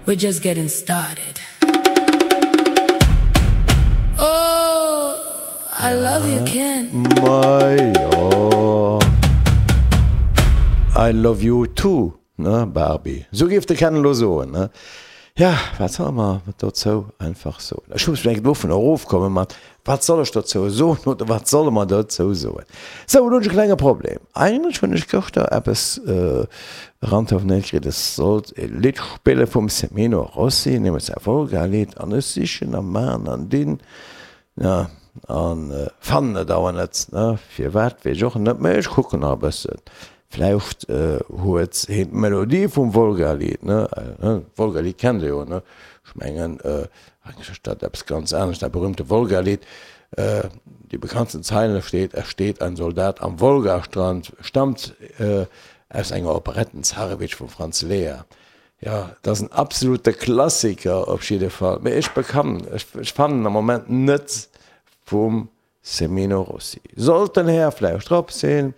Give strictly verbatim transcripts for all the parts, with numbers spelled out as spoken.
We're just getting started. Oh, I love you, Ken. Majo. I love you too, ne, Barbie. Sou géif de Ken elo soen, ne? Ja, wat solle mer dozou einfach soen? Ech muss vläicht dovun erofkommen mat, wat soll ech dozou soen oder wat solle mer dozou soen? Sou, elo hunn ech e klenge Problem. Eigentlech hunn ech gëschter eppes erantelefonéiert kritt, ech sollt e Lidd spille vum Semino Rossi, nämlech säi Volga-Lidd, an ech sichen a man an dinn, ja, an fannen et awer net, ne? Firwat, weess ech och net, mä ech kucken nach e bëssen. Vläicht huet heen d'Melodie vum Wolga-Lied, ne? D'Wolga-Lied kennt Der jo, ne? Ech mengen, eigentlech ass dat eppes ganz anescht, dat berühmte Wolga-Lied. Déi bekanntsten Zeile steet, Es steht ein Soldat am Wolgastrand, stammt aus enger Operette Zarewitsch vum Franz Lea. Jo, et ass en absolute Klassiker op jidde Fall. Mee ech bekann, ech fannen am Moment net vum Semino Rossi. Sollt den Här vläicht drop sinn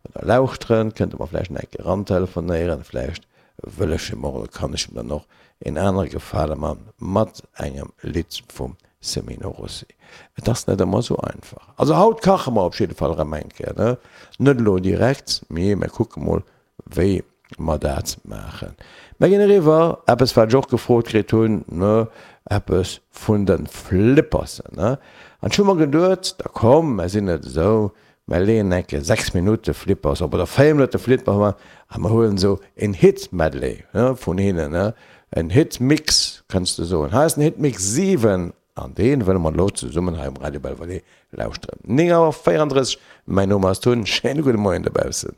oder lauschteren, kënnt e mer vläicht nach eng Kéier erantelefonéieren. Vläicht wëll ech him och oder kann ech him dann och en anere Gefale man mat engem Lidd vum Semino Rossi. Et ass net ëmmer esou einfach. Also haut kache mer op jidde Fall erëm eng Kéier, ne? Net elo direkt, mee mer kucke mol wéi mer dat maachen. Mer ginn eriwwer, eppes wat ech och gefrot kritt hunn, ne, eppes vun de Flippersen, ne. An ech hu mer geduet, da komm, mer sinn net esou, mer leeën eng Kéier sechs Minutte Flippers op oder véier Minutte Flippers op a mer huelen esou en Hit-Medley, ne, vun hinnen, ne, en Hit-Mix kënns de soen. Hei ass den Hit-Mix siwen an dee wëlle mer elo zesummen hei um Radio Belvedere lauschteren. Néng Auer véierandrësseg, mäin Numm ass Tun, schéine gudde Moien dobaussen.